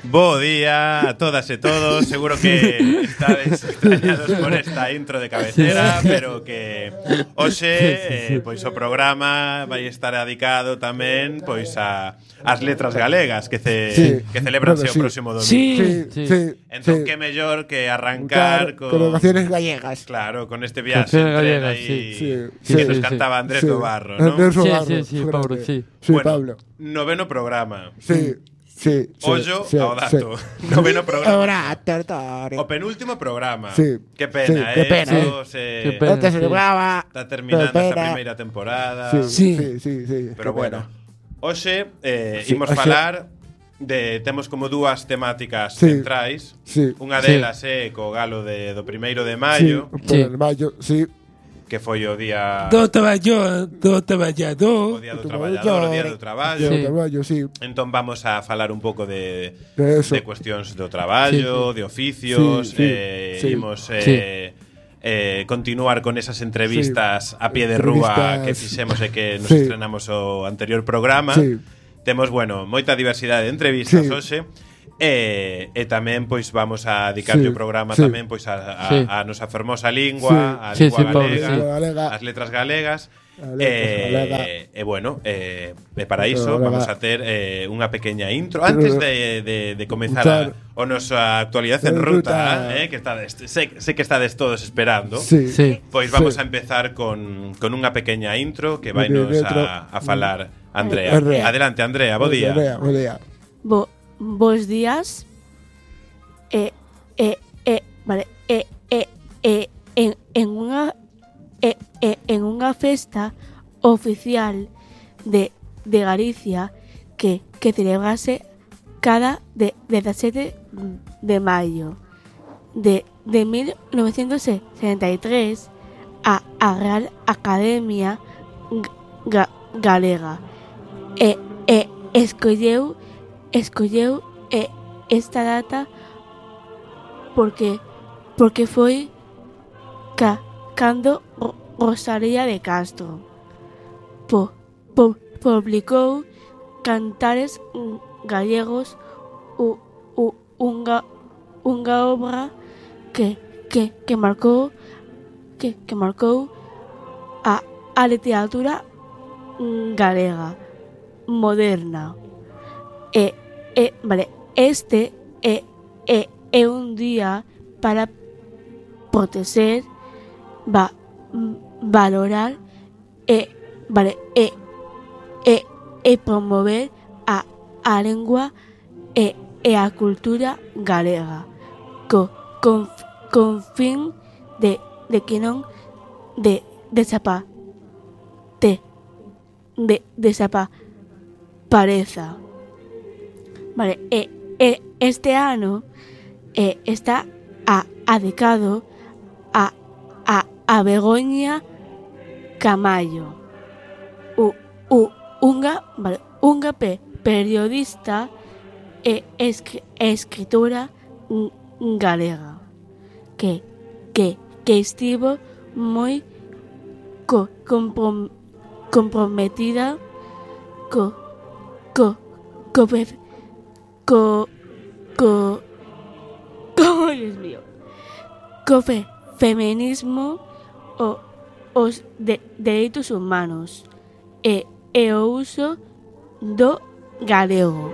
Bo día a todas e todos. Seguro que estades extrañados por esta intro de cabecera, pero que hoxe pois o programa vai estar dedicado tamén pois ás letras galegas que celebranse o próximo domingo. Entón que mellor que arrancar con canciones gallegas. Claro, con este viaxe en tren aí que nos cantaba Andrés do Barro, ¿no? Andrés do Barro. Sí, Pablo, sí. Bueno, Pablo. noveno programa. Sí. Ollo ao dato. Noveno programa. Ahora, O penúltimo programa. Sí. Qué pena, Sí, qué pena, Qué pena. Antes se celebraba. Está terminando Qué esta pena. primeira temporada. Sí. Pero qué bueno. pena. Hoxe Sí, imos hoxe- falar temos como dúas temáticas Sí. centrais. Sí. Unha delas é co galo do 1º de maio, Sí, por el mayo, sí. que foi o día Do traballador. o día do traballador, o día do traballo. Sí. Traballo, sí. Entón vamos a falar un pouco de Eso. cuestións do traballo, de oficios, Sí. imos continuar con esas entrevistas a pie de rúa que fixemos e que nos Sí. estrenamos o anterior programa. Sí. Temos, moita diversidade de entrevistas Sí. hoxe. E tamén pois vamos a dedicarlle o programa Sí. tamén pois a nosa fermosa lingua, Sí. a Sí, lingua Pablo, galega, sí. Galega. as letras galegas. As letras galegas. E para iso Galega. vamos a ter unha pequeña intro antes de comezar o nosa actualidade en ruta, que sé que estades todos esperando. Sí. Pois vamos Sí. a empezar con unha pequeña intro que vai nos a falar Andrea. Andrea. Adelante, Andrea, bo día. Bo día. Bos días. Vale. En unha festa oficial de Galicia que celebrase cada 17 de maio de 1973 a Real Academia Galega escolleu esta data porque foi cando Rosalía de Castro publicou Cantares Gallegos, unha obra que marcou a literatura galega moderna. Este é un día para proteger, valorar e promover a lengua e a cultura galega con fin de que non desapareza. Este ano está dedicado a Begoña Camallo, unha periodista e escritora galega que estivo moi comprometida co feminismo, os dereitos humanos e o uso do galego.